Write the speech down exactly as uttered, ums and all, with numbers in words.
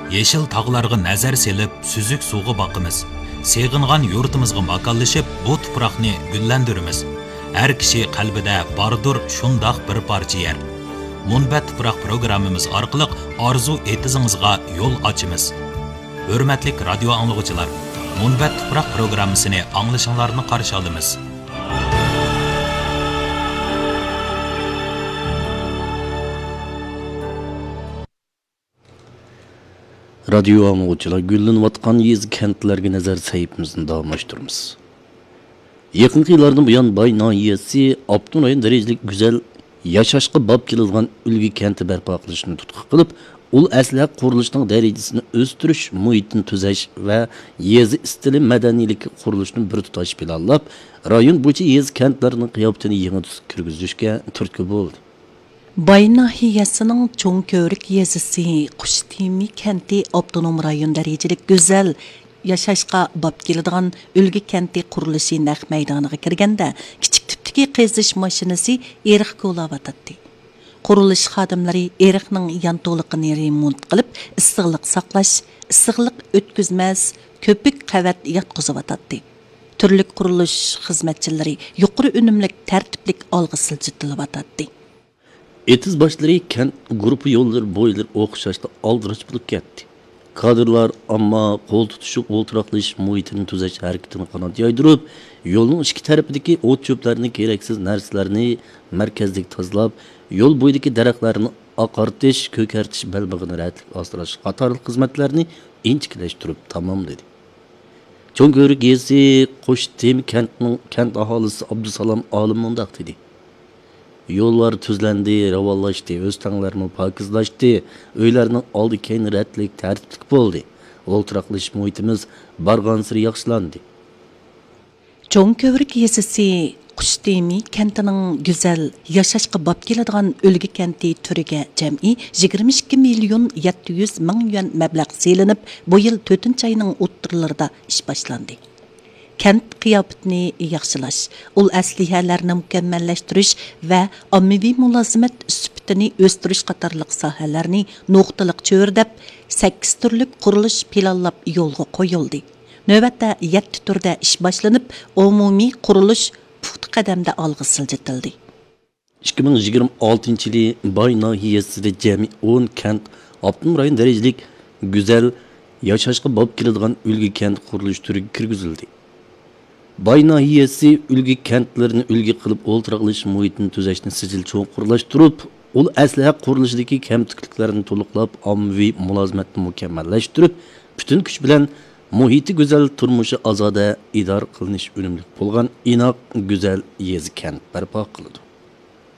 يېشىل تاغلارغا نەزەر سېلىپ، سۈزۈك سۇغا باقىمىز. سېغىنغان يۇرتىمىزغا ماكانلىشىپ، بۇ تۇپراقنى گۈللەندۈرىمىز. ھەر كىشى قەلبىدە باردۇر شۇنداق بىر پارچە يەر. مۇنبەت تۇپراق پروگراممىمىز ئارقىلىق ئارزۇ ئېتىزىڭىزغا يول ئاچىمىز. ھۆرمەتلىك رادىيو ئاڭلىغۇچىلار، مۇنبەت تۇپراق پروگراممىسىنى ئاڭلىشىڭلارنى قارشى ئالىمىز. رادىيو ئاڭلىغۇچىلار، گۈللىنىۋاتقان يېزا، كەنتلەرگە نەزەر سەھىپىمىزنى داۋاملاشتۇرىمىز. يېقىنقى يىللاردىن بۇيان، باي ناھىيەسى ئاپتونوم رايون دەرىجىلىك گۈزەل ياشاشقا باب كېلىدىغان ئۈلگە كەنتى بەرپا قىلىشنى تۇتقا قىلىپ، ئۇل ئەسلىھە قۇرۇلۇشىنىڭ دەرىجىسىنى ئۆستۈرۈش، مۇھىتنى تۈزەش ۋە يېزا ئىستىلى مەدەنىيلىكى قۇرۇلۇشىنى بىر تۇتاش پىلانلاپ، رايون بويىچە يېزا، كەنتلەرنىڭ قىياپىتىنى يېڭى تۈسكە كىرگۈزۈشكە تۈرتكە بولدى. باي ناھىيەسىنىڭ چوڭ كۆۋرۈك يېزىسى قۇشتېمى كەنتى ئاپتونوم رايون دەرىجىلىك گۈزەل ياشاشقا باب كېلىدىغان ئۈلگە كەنتى قۇرۇلۇشى نەق مەيدانىغا كىرگەندە، كىچىك تىپتىكى قېزىش ماشىنىسى ئېرىق كولاۋاتاتتى. قۇرۇلۇش خادىملىرى ئېرىقنىڭ يانتۇلۇقىنى رېمونت قىلىپ، ئىسسىقلىق ساقلاش، ئىسسىقلىق ئۆتكۈزمەس كۆپۈك قەۋەت ياتقۇزۇۋاتاتتى. تۈرلۈك قۇرۇلۇش خىزمەتچىلىرى يۇقىرى ئۈنۈملۈك، تەرتىپلىك ئالغا سىلجىتىلىۋاتاتتى. ئېتىز باشلىرى، كەنت گۇرۇپپا يوللىرى بويلىرى ئوخشاشلا ئالدىراش بولۇپ كەتتى. كادىرلار ئامما قول تۇتۇشۇپ ئولتۇراقلىشىش مۇھىتىنى تۈزەش ھەرىكىتىنى قانات يايدۇرۇپ، يولنىڭ ئىككى تەرىپىدىكى ئوت-چۆپلەرنى، كېرەكسىز نەرسىلەرنى مەركەزلىك تازىلاپ، يول بويىدىكى دەرەخلەرنى ئاقارتىش، كۆكەرتىش، بەلبېغىنى رەتلىك ئاسراش قاتارلىق خىزمەتلەرنى ئىنچىكىلەشتۈرۈپ تاماملىدى. چوڭ كۆۋرۈك يېزىسى قۇشتېمى كەنتىنىڭ كەنت ئاھالىسى ئابدۇسالام ئالىم مۇنداق دېدى: يوللار تۈزلەندى، راۋانلاشتى، ئۆستەڭلەرمۇ پاكىزلاشتى، ئۆيلەرنىڭ ئالدى كەينى رەتلىك، تەرتىپلىك بولدى. ئولتۇراقلىشىش مۇھىتىمىز بارغانسېرى ياخشىلاندى. چوڭ كۆۋرۈك يېزىسى قۇشتېمى كەنتىنىڭ گۈزەل ياشاشقا باب كېلىدىغان ئۈلگە كەنتى تۈرىگە جەمئىي يىگىرمە ئىككى مىليون يەتتە يۈز مىڭ يۈەن مەبلەغ سېلىنىپ، بۇ يىل تۆتىنچى ئاينىڭ ئوتتۇرىلىرىدا ئىش باشلاندى. كەنت قىياپىتىنى ياخشىلاش، ئۇل ئەسلىھەلەرنى مۇكەممەللەشتۈرۈش ۋە ئاممىۋى مۇلازىمەت سۈپىتىنى ئۆستۈرۈش قاتارلىق ساھەلەرنى نۇقتىلىق چۆرىدەپ، سەككىز تۈرلۈك قۇرۇلۇش پىلانلاپ يولغا قويۇلدى. نۆۋەتتە يەتتە تۈردە ئىش باشلىنىپ، ئومۇمىي قۇرۇلۇش پۇختا قەدەمدە ئالغا سىلجىتىلدى. ئىككى مىڭ يىگىرمە ئالتىنچى يىلى باي ناھىيەسىدە جەمئىي ئون كەنت ئاپتونوم رايون دەرىجىلىك گۈزەل ياشاشقا باب كېلىدىغان ئۈلگە كەنت قۇرۇلۇش تۈرىگە كىرگۈزۈلدى. باي ناھىيەسى ئۈلگە كەنتلىرىنى ئۈلگە قىلىپ، ئولتۇراقلىشىش مۇھىتىنى تۈزەشنى سىجىل چوڭقۇرلاشتۇرۇپ، ئۇل ئەسلىھە قۇرۇلۇشىدىكى كەمتۈكلۈكلەرنى تولۇقلاپ، ئاممىۋى مۇلازىمەتنى مۇكەممەللەشتۈرۈپ، پۈتۈن كۈچ بىلەن مۇھىتى گۈزەل، تۇرمۇشى ئازادە، ئىدارە قىلىنىش ئۈنۈملۈك بولغان ئىناق، گۈزەل يېزا، كەنت بەرپا قىلىدۇ.